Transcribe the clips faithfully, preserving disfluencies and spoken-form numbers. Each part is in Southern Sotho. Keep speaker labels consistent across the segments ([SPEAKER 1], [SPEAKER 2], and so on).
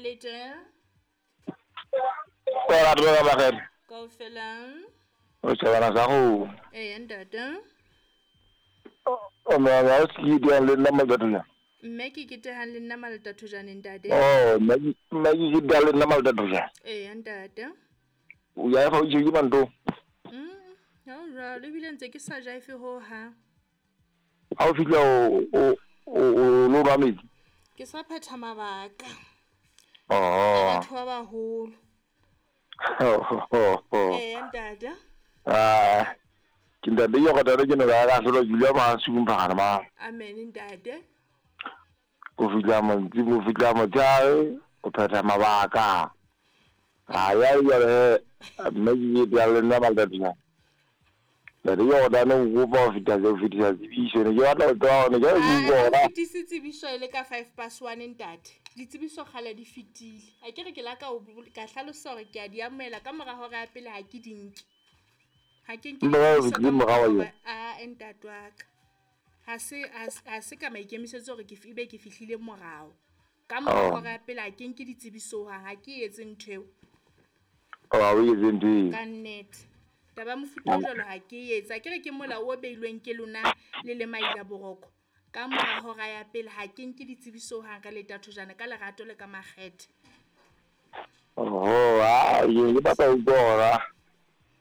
[SPEAKER 1] Le teng.
[SPEAKER 2] Ora dlo ba gere.
[SPEAKER 1] Kaofela.
[SPEAKER 2] O tsebana sa go.
[SPEAKER 1] Eh ntate.
[SPEAKER 2] O me ga o se di le nna maltatho.
[SPEAKER 1] Mme ke ketehang le nna maltatho jane ntate.
[SPEAKER 2] Oh, mme mme ke di le nna maltatho jane.
[SPEAKER 1] Eh ntate.
[SPEAKER 2] O ya fa o je ke manto.
[SPEAKER 1] Mm, ha o jwalo ebile ntse ke sa jaife ho ha.
[SPEAKER 2] Ha o fihla o o o lo ba metsi.
[SPEAKER 1] Ke sa phetha mabaka.
[SPEAKER 2] Oh.
[SPEAKER 1] Batho ba baholo. Eh ntate.
[SPEAKER 2] Ah. Ke ntate yo go tare ke ne ga ga solo Julia ma sumpana ma.
[SPEAKER 1] Amen ntate.
[SPEAKER 2] O fihla mantsi o fihla motshare o phetha mabaka. A ya ya re mme ke di le nna maltatho. Le re yo da no go ba fita go fitisa tsebiso ne ke batla go tswa ne ke go bona.
[SPEAKER 1] Fitise tsebiso ile ka five past one ntate. Ditsebiso kgale di fitile. A ke re ke la ka o ka hlalosa hore ke a di amohela ka mora hora ya pele ha ke di nke. Ha ke nke a ntate wa ka. Ha se ha se ka maikemisetso hore ke ebe ke fihlile morao. Ka mora hora ya pele ha ke nke ditsebiso ha ha ke etse ntho eo.
[SPEAKER 2] O a o etse ntho eo.
[SPEAKER 1] Ka nnete. Taba mofuta o jwalo ha ke etsa ke re ke molao o beilweng ke lona le le maila boroko. Ka mora hora ya pele ha ke nke ditsebiso hang ka letatho jana ka lerato le ka makgethe.
[SPEAKER 2] Oh, ah, ye ke batla ho bona.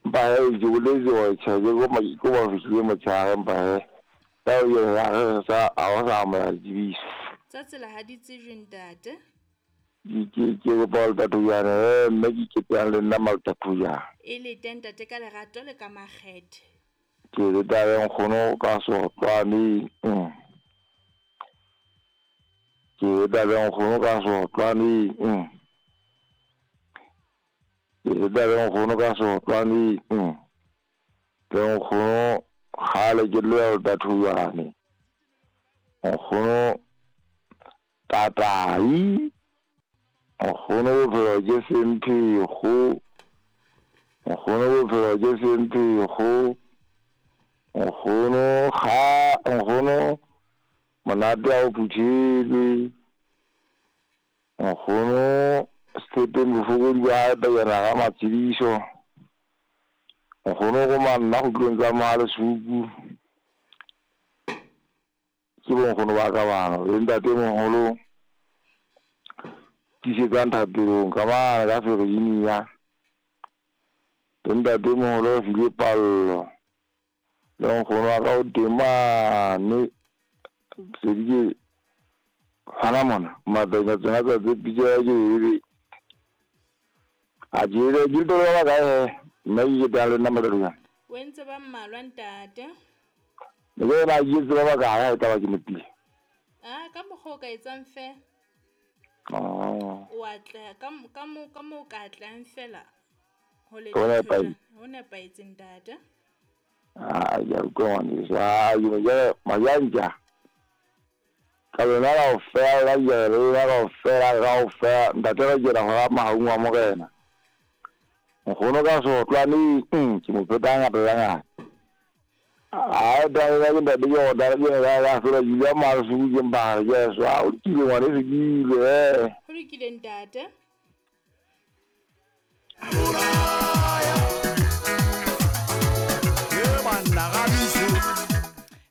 [SPEAKER 2] Ba e ke boletse hore tjhe ke go ko ba fihlile motshehare mpa he. Ka o ye ha re sa a o sa amohela ditsebiso.
[SPEAKER 1] Tsa tsela ha di tsejwe ntate.
[SPEAKER 2] Ke ke go ba letatho jana mme ke ketehang le nna maltatho jana.
[SPEAKER 1] E le teng ntate ka lerato le ka makgethe.
[SPEAKER 2] Ke le taba nkgono ka sotlwane. Ke le taba nkgono ka sotlwane. Ke le taba nkgono ka sotlwane. Le nkgono kgale ke le letatho jane. Nkgono tatai. Nkgono bophelo ke semphego. Nkgono bophelo ke semphego. Nkgono ga nkgono monate a o phuthile. Nkgono setepeng bofokodi ba pejana ga matshidiso. Nkgono go manna go tlong tsa Mahalesuku. Ke bonkgono ba ka bana le ntate moholo. Tisetsang thapelong ka mane ka Virginia. Le ntate moholo o file pallo. Le nkgono wa ka o teng mane. Se di ke hana mona matanya tsena tsa tse pitso ya ke ebe. A jele ke tlo ba kae he? Nna ke tla le nna maltatho jana.
[SPEAKER 1] O entse ba mmalwa ntate.
[SPEAKER 2] Ne ke ba ke tseba ba kae ha e taba ke nepile.
[SPEAKER 1] Ah, ka mokgwa o ka etsang fela.
[SPEAKER 2] Oh.
[SPEAKER 1] O atleha ka ka mo ka mo ka atlang fela. Ho le ho nepahetse ntate.
[SPEAKER 2] Ah, ya utlwa ngwaneso. Ah, ke ne majanja. Ka lona kaofela ka lona kaofela kaofela ntate ba kena hora mahaung wa morena. Nkgono ka sotlwane ke mo pheta ngata le ngata. Ah, da da ke ntate ke da ke ga ga fela Julia Mahalesuku ke mpha ke so a o lokile ngwaneso ke ile eh.
[SPEAKER 1] Ho lokile ntate.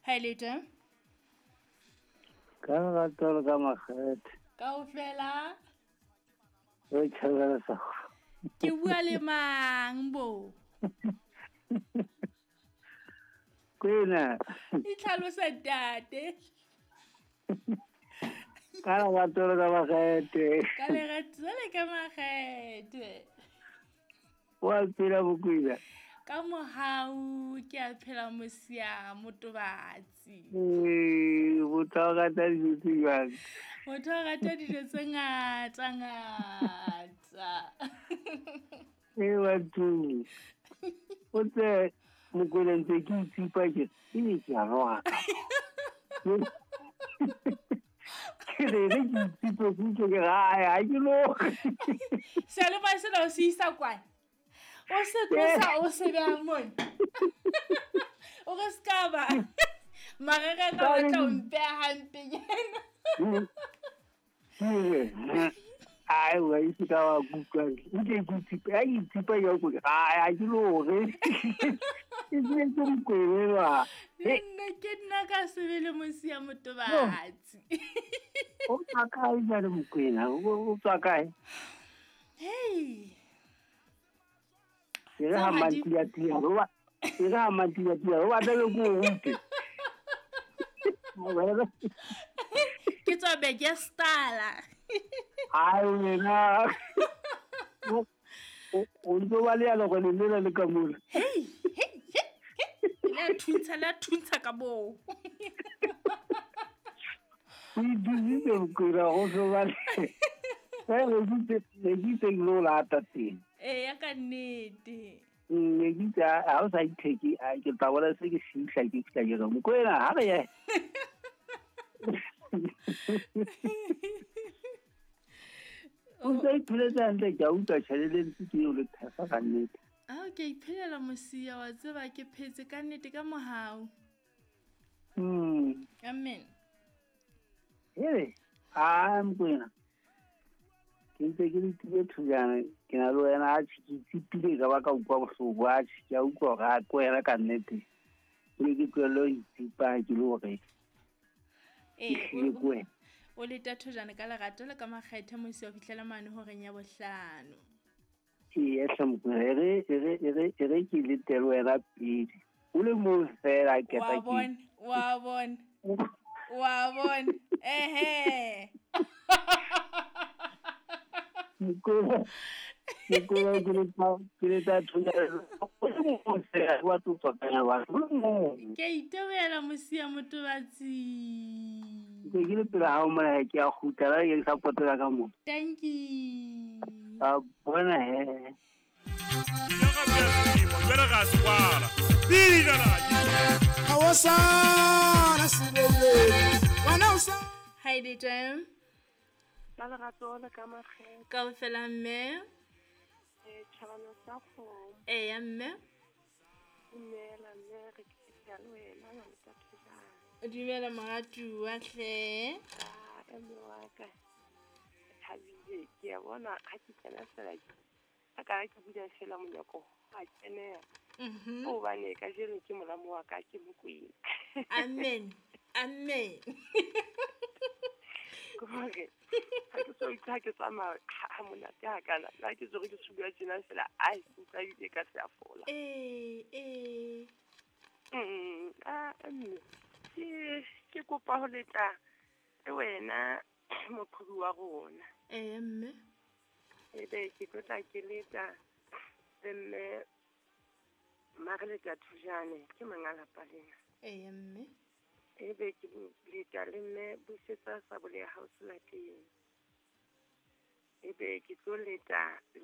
[SPEAKER 1] Ha le teng.
[SPEAKER 3] Ka lerato le ka makgethe.
[SPEAKER 1] Kaofela.
[SPEAKER 3] O tjhabela sa.
[SPEAKER 1] Ke bua le mang bo?
[SPEAKER 3] Kwena.
[SPEAKER 1] Itlhalosa ntate.
[SPEAKER 3] Ka lerato le ka makgethe.
[SPEAKER 1] Ka lerato le ka makgethe.
[SPEAKER 3] Wa phela bokwena.
[SPEAKER 1] Ka mohau ke a phela mosia motobatsi.
[SPEAKER 3] Eh, motho o rata dijo tse jwang?
[SPEAKER 1] Motho o rata dijo tse ngata ngata.
[SPEAKER 3] Eh batho. O tse mokwena ntse ke itsipa ke e ke a roga. Ke re re ke itsipa ke ke ga ha ke lo.
[SPEAKER 1] Seyalemoya sena o se isa kwana. O se tlosa o se beha mona. O re se ka ba. Marere ka batla ho mpeha hampenyana.
[SPEAKER 3] A Ai wa itse ka wa kutlwa nke ke tsipa a tsipa ya go a ke lore ke se ke mokwena
[SPEAKER 1] nna ke nna ka sebele Mosia Motobatsi.
[SPEAKER 3] O tswa kae jale Mokwena? O tswa kae?
[SPEAKER 1] Hey,
[SPEAKER 3] ke ga mantia tia ro ke ga mantia tia ro batla go rute.
[SPEAKER 1] Ke tswa beke stala.
[SPEAKER 3] Ai wena o ntse ba le ya go le lela le ka mola.
[SPEAKER 1] Hey hey hey, la thuntsha la thuntsha ka bo.
[SPEAKER 3] O dizitse Mokwena go so ba le le ditse le ditse lo la teng.
[SPEAKER 1] Eh ya ka nnete.
[SPEAKER 3] Ne ke tsa ha o sa itheke a ke tla bona se ke fihla ke fihla ke re Mokwena ha re ye. O ntse iphelela hantle ke a utlwa tjhelete ntse ke eo le phefa ka nnete.
[SPEAKER 1] Ah ke iphelela Mosia wa tseba ke phetse ka nnete ka mohau.
[SPEAKER 3] Mm.
[SPEAKER 1] Amen.
[SPEAKER 3] Hele, a Mokwena. Ke ntse ke le tile thujana ke na le wena a ke tsipile ka ba ka utlwa bohloko a ke a utlwa hore a ko wena ka nnete. Ne ke tlohelle ho itsipa ke le hore
[SPEAKER 1] eh
[SPEAKER 3] ko wena.
[SPEAKER 1] O leta thojana ka lerato le ka makgethe Mosia o fihlela mane horeng ya bohlano.
[SPEAKER 3] Ee hle Mokwena e re e re e re e re ke letele wena pele. O le moo fela ke
[SPEAKER 1] Wa
[SPEAKER 3] tla ke.
[SPEAKER 1] bona, wa bona. Wa bona. Ehe.
[SPEAKER 3] Mokwena Mokwena ke leta ke leta thojana o le moo fela wa tlo tswa wa o le moo.
[SPEAKER 1] Ke a itebohela Mosia Motobatsi.
[SPEAKER 3] Ke ke le pele hao mona ke a kgutla la ke sa potela ka mo.
[SPEAKER 1] Thank you.
[SPEAKER 3] A bona he.
[SPEAKER 1] Hi Dita.
[SPEAKER 4] Ba lerato le ka makgethe.
[SPEAKER 1] Kaofela mme.
[SPEAKER 4] Eh tjhabana sa kgomo.
[SPEAKER 1] Eya mme.
[SPEAKER 4] Dumela mme re ke le wena wa thujana.
[SPEAKER 1] Dumela moratuwa hle.
[SPEAKER 4] Ah mme wa ka. Thabile ke a bona ha ke kena fela a ka ke bula fela monyako a kenela.
[SPEAKER 1] Mhm.
[SPEAKER 4] Hobane ka jeno ke molamo wa ka ke Mokwena.
[SPEAKER 1] Amen. Amen.
[SPEAKER 4] Gore ha ke so itse ke tsamaya ha monate ha kana la ke tsore ke subuya tjena fela ai utlwa ebile ka se a fola.
[SPEAKER 1] Eh eh.
[SPEAKER 4] Mm ah mme ke ke kopa ho letla le wena moqhobi wa rona.
[SPEAKER 1] Eh mme.
[SPEAKER 4] Ebe ke tlo tla ke letla le mme Mareleta Thujane ke monga lapa lena.
[SPEAKER 1] Eh mme.
[SPEAKER 4] Ebe ke letla le mme Busetsa Sabole ya house lapeng. Ebe ke tlo leta le